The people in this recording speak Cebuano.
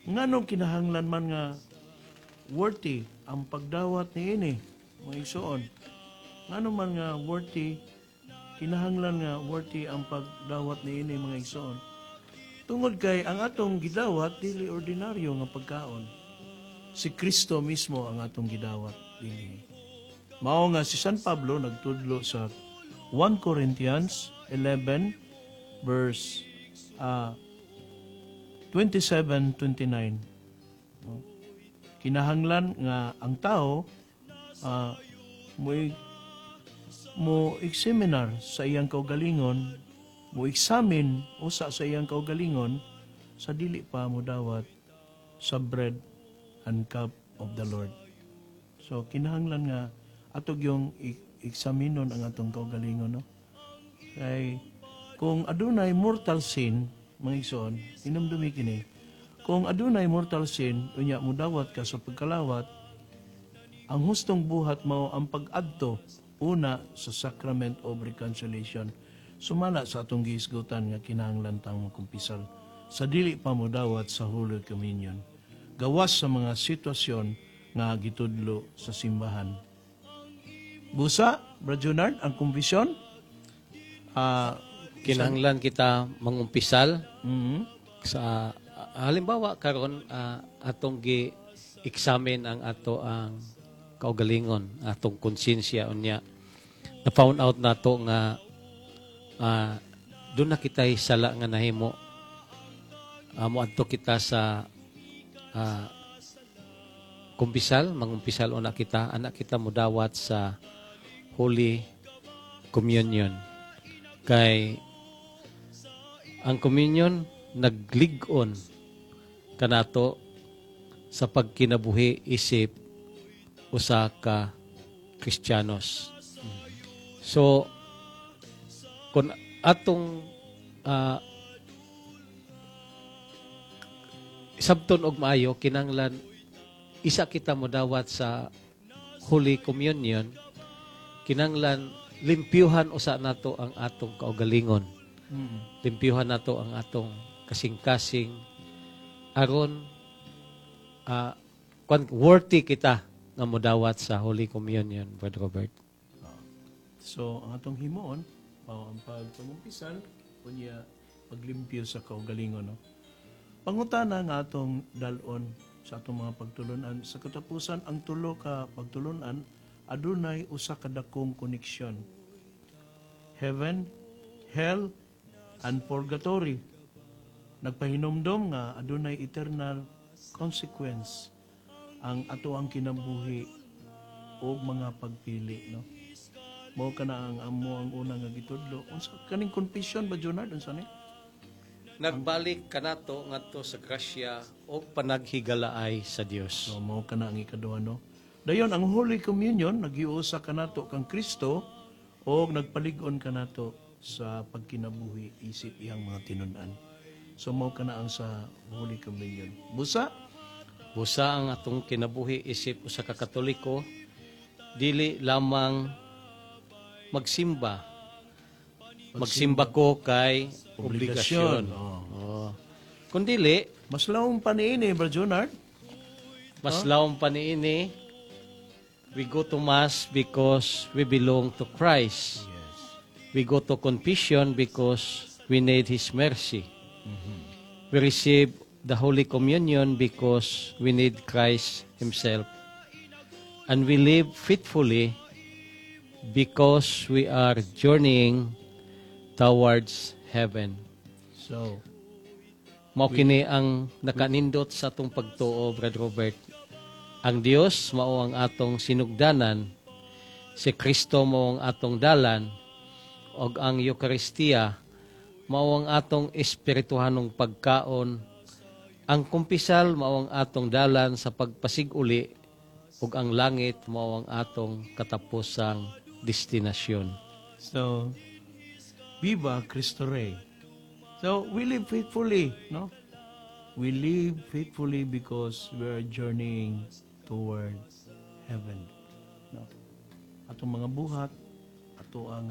Nganong kinahanglan man nga worthy ang pagdawat niini, mga igsoon? Ngano man nga worthy, kinahanglan nga worthy ang pagdawat niini, mga igsoon? Tungod kay ang atong gidawat dili ordinaryo nga pagkaon. Si Kristo mismo ang atong gidawat dinhi. Mao nga si San Pablo nagtudlo sa 1 Corinthians 11 verse 27-29, no? Kinahanglan nga ang tao mo examinar sa iyang kaugalingon, mo examine usa sa iyang kaugalingon sa dili pa mo dawat sa bread and cup of the Lord. So kinahanglan nga ato yung eksaminon ang atong kaugalingon, no? Kay kung adunay mortal sin, mga igsoon, hinumdumi kini, kung adunay mortal sin, unya mudawat ka sa pagkalawat, ang hustong buhat mao ang pag-adto una sa sacrament of reconciliation. Sumala sa atong gihisgutan nga kinahanglan tang makumpisal sa dili pa modawat sa Holy Communion, gawas sa mga sitwasyon nga gitudlo sa simbahan. Busa, Brad Junard, ang kumbisyon, Kinahanglan kita mangumpisal sa halimbawa karon atong gi examine ang ato ang kaugalingon, atong konsensya, unya na found out nato nga duna na kita'y sala nga nahimo, moadto kita sa kumpisal, mangumpisal una kita, ana kita mudawat sa Holy Communion. Kay ang communion naglig-on kanato sa pagkinabuhi isip usa ka Kristiyanos. So kung atong sabton og maayo, kinahanglan isa kita modawat sa Holy Communion, kinahanglan limpyuhan usa nato ang atong kaugalingon. Limpyuhan nato ang atong kasing-kasing aron kwan, worthy kita nga modawat sa Holy Communion, Brother Robert. So, ang atong himuon, mao ang pagpangumpisal, unya paglimpyo sa kaugalingon. No? Pangutana nga atong dalon sa atong mga pagtulunan. Sa katapusan, ang tulo ka pagtulunan, adunay usa ka dakong koneksyon. Heaven, hell, and purgatory. Nagpahinumdom nga adunay eternal consequence ang ato ang kinabuhi o mga pagpili, no? Mao kana ang amo ang una nga gitudlo. Unsa kaning confession ba, Jonard? Unsa ni? Nagbalik kanato ngadto sa grasya o panaghigalaay sa Dios. So mao kana ang ikaduha, no? Dayon ang Holy Communion nagiusa kanato kang Kristo o nagpalig-on kanato sa pagkinabuhi isip iyang mga tinun-an. So mao kana ang sa Holy Communion. Busa. Busa, ang atong kinabuhi isip usa ka Katoliko dili lamang magsimba. Magsimba ko kay obligasyon. Oh. Oh. Kung dili, Mas lawom pa niini, Bro Jonard. Mas lawom pa niini, we go to Mass because we belong to Christ. We go to confession because we need His mercy. We receive the Holy Communion because we need Christ Himself. And we live faithfully because we are journeying towards heaven. So, Mao kini ang nakanindot sa atong pagtuo, Brad Robert. Ang Dios mao ang atong sinugdanan, si Kristo mao ang atong dalan, ug ang Eukaristiya mao ang atong espirituhanong pagkaon. Ang kumpisal mao ang atong dalan sa pagpasig-uli, ug ang langit mao ang atong katapusang destinasyon. So, Viva Cristo Rey. So, we live faithfully, no? We live faithfully because we are journeying toward heaven. No? Atong mga buhat, ato ang